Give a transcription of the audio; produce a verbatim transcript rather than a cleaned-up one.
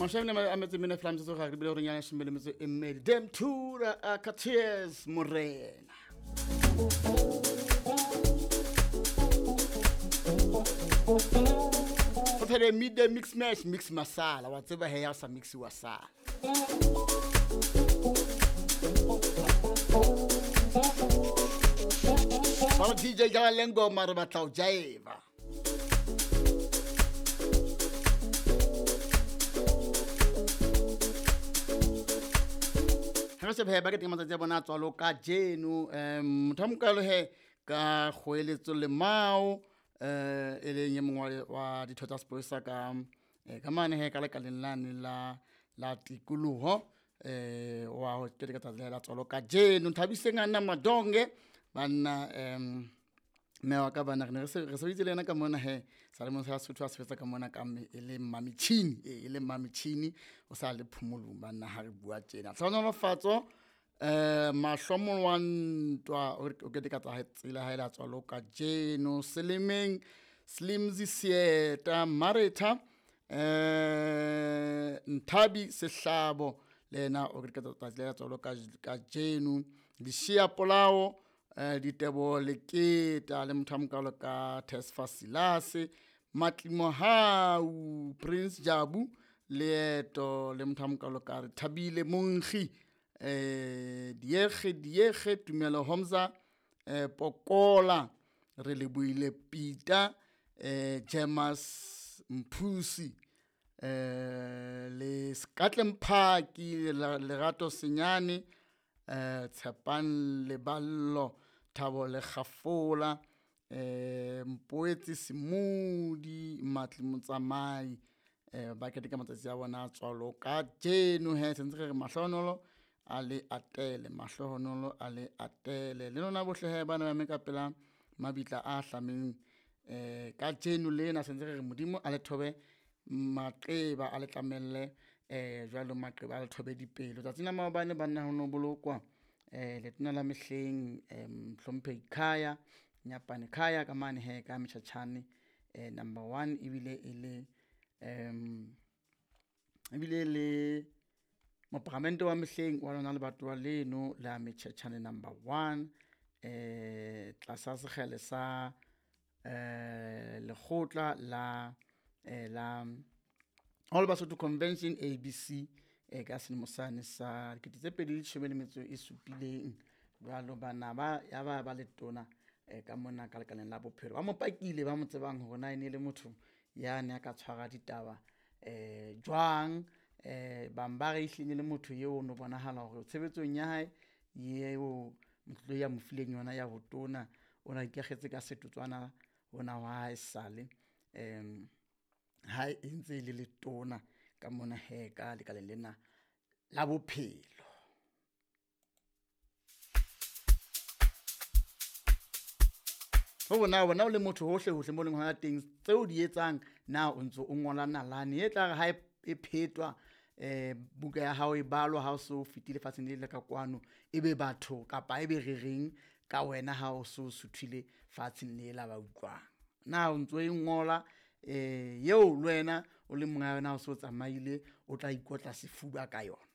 Mashame a metse mene fela metsotso ga re bile gore nyana shome le metso e mmedi. Dem Tura Akateers Morena. Go phele midday mix mash mix masala wa tseba he ya sa mix wa sala. Ba D J ga lengo mare batla o jaeva. Ha se ba ke matsatsi a bona tswalo ka jeno um motho mokalo he ka goeletso le mao eh e leng e mongwe wa ditho tsa sepolesa ka ka mane he ka lekaleng lane la la tikoloho eh wa ho keteka tsatsi la tswalo ka jeno. Nthabiseng a nna Madonge banna um mme wa ka bana re ne re sebeditse le yena ka mona he sa le mo sa Sotho a sebetsa ka mona ka mme e le Mamichini e le Mamichini o sa le phomolong banna ha re bua tjena. Tlhonolofatso eh mahlomo wa ntwa o keteka tsatsi la hae la tswalo ka jeno. Selemeng Slimzi Sieta Maretha eh Nthabi Sehlabo le yena o keteka tsatsi la tswalo ka jeno. Dishia Polao eh Ditebo Leketa le motho a mokalo ka Tesfa Silase Matlimohau Prince Jabu Leeto le motho a mokalo ka re Thabile Monkgi eh Diege Diege Tumelo Homza eh Pokola re le buile Peter eh Jamas Mphusi eh le Skatlem Phaki Lerato Senyane eh Tshepan Leballo Thabo le Gafola eh Mpoetsi Simudi Matli Motsamai eh ba keteka matsatsi a bona tswalo ka jeno he sentse re mahlonolo a le atele mahlohonolo a le atele le lona bohle he bana ba me ka pela mabitla a hlameng eh ka jeno lena sentse re Modimo a le thobe maqeba a le tlamelle eh jwalo maqeba a le thobe dipelo. Tsatsing la maobane banna ho no bolokwa eh letona la mehleng Hlomphehi Khaya Nyapane Khaya ka mane he ka Metjhatjhane eh number one ebile e le um ebile le moparamente wa mehleng wa lona lebatowa leno la Metjhatjhane number one eh tlasa sekgele sa eh lekgotla la eh la All Basotho Convention A B C eh ka selemo sane sa dikete tse pedi le leshome le metso e supileng. Jwalo bana ba ya ba ba letona eh ka mona ka lekaleng la bophelo ba mo pakile ba mo tsebang hore na e ne le motho ya ne a ka tshwara ditaba eh jwang eh bang ba re ehlile le motho eo no bonahala hore tshebetsong ya hae eo motho ya mo fileng yona ya botona o na ikakgetse ka setotswana ona wa hae sale em ha e ntse le letona ka mona he ka lekaleng lena la bophelo. Ho bona bona o le motho hohle hohle mo leng hona teng tseo di etsang na o ntso o ngola nalane e tla re ha e phetwa eh buka ya hao e balwa ha o so fetile lefatsheng le le ka kwano ebe batho kapa ebe re reng ka wena ha o so suthile fatsheng le la ba utlwang na o ntso e ngola eh eo le wena o le monga yona o so tsamaile o tla ikotla sefuba ka yona.